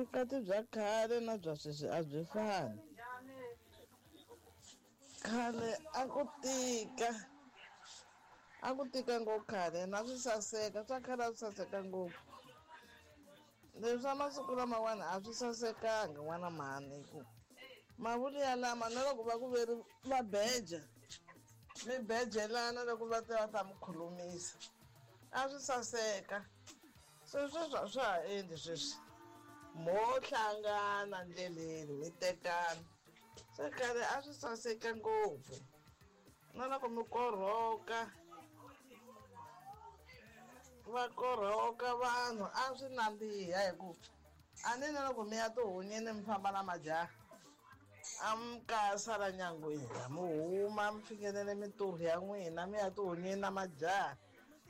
Vukati bya khale na bya sweswi a byi fani. Khale a ku tika a ku tika ngopfu khale na swi saseka swa khale a swi saseka ngopfu leswi swa masiku lamawani a swi sasekanga n'wana mhani hi ku mavulu yalama na loko va ku veri va beja mi bejelana loko va ta va ta mi khulumisa a swi saseka se sweswi a swa ha endli sweswi mo hlangana ndleleni mi tekana se khale a swi saseka ngopfu na loko mi korhoka va korhoka vanhu a swi nandziha hi ku a ni na loko mi ya tihunyeni mi famba na majaha a mi ka sala nyangweni mi huma mi fikelele mintirho ya n'wina mi ya tihunyeni na majaha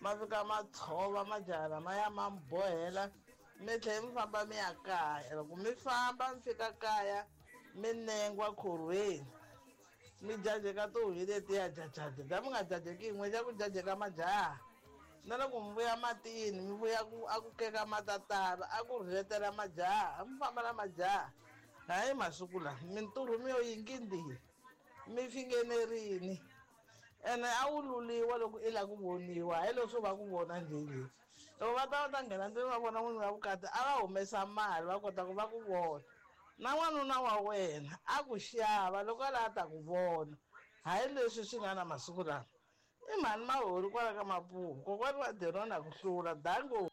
ma fika ma tshova majaha lamaya ma mi bohela mi tlhela mi famba mi ya kaya loko mi famba mi fika kaya mi nengwa khorhweni mi jajeka tihunyi letiya jajaja mi nga jajeki yin'we xa ku jajeka majaha na loko mi vuya matini mi vuya ku a ku keka matatala a ku rhetela majaha mi famba na majaha hayi masiku lawa mintirho mi yo yingindini mi fingenerini ene a wu luliwa loko i lava ku voniwa hayi leswo va ku vona njhenjhe loko va ta va ta nghena ndzeni va vona n'wini wa vukati a va humesa mali va kota ku va ku vona na n'wanuna wa wena a ku xava loko a lava ta ku vona hayi leswi swi nga na masiku lawa i mhani mahori kwala ka mapuhu kokwani wa derona ku hlula dango.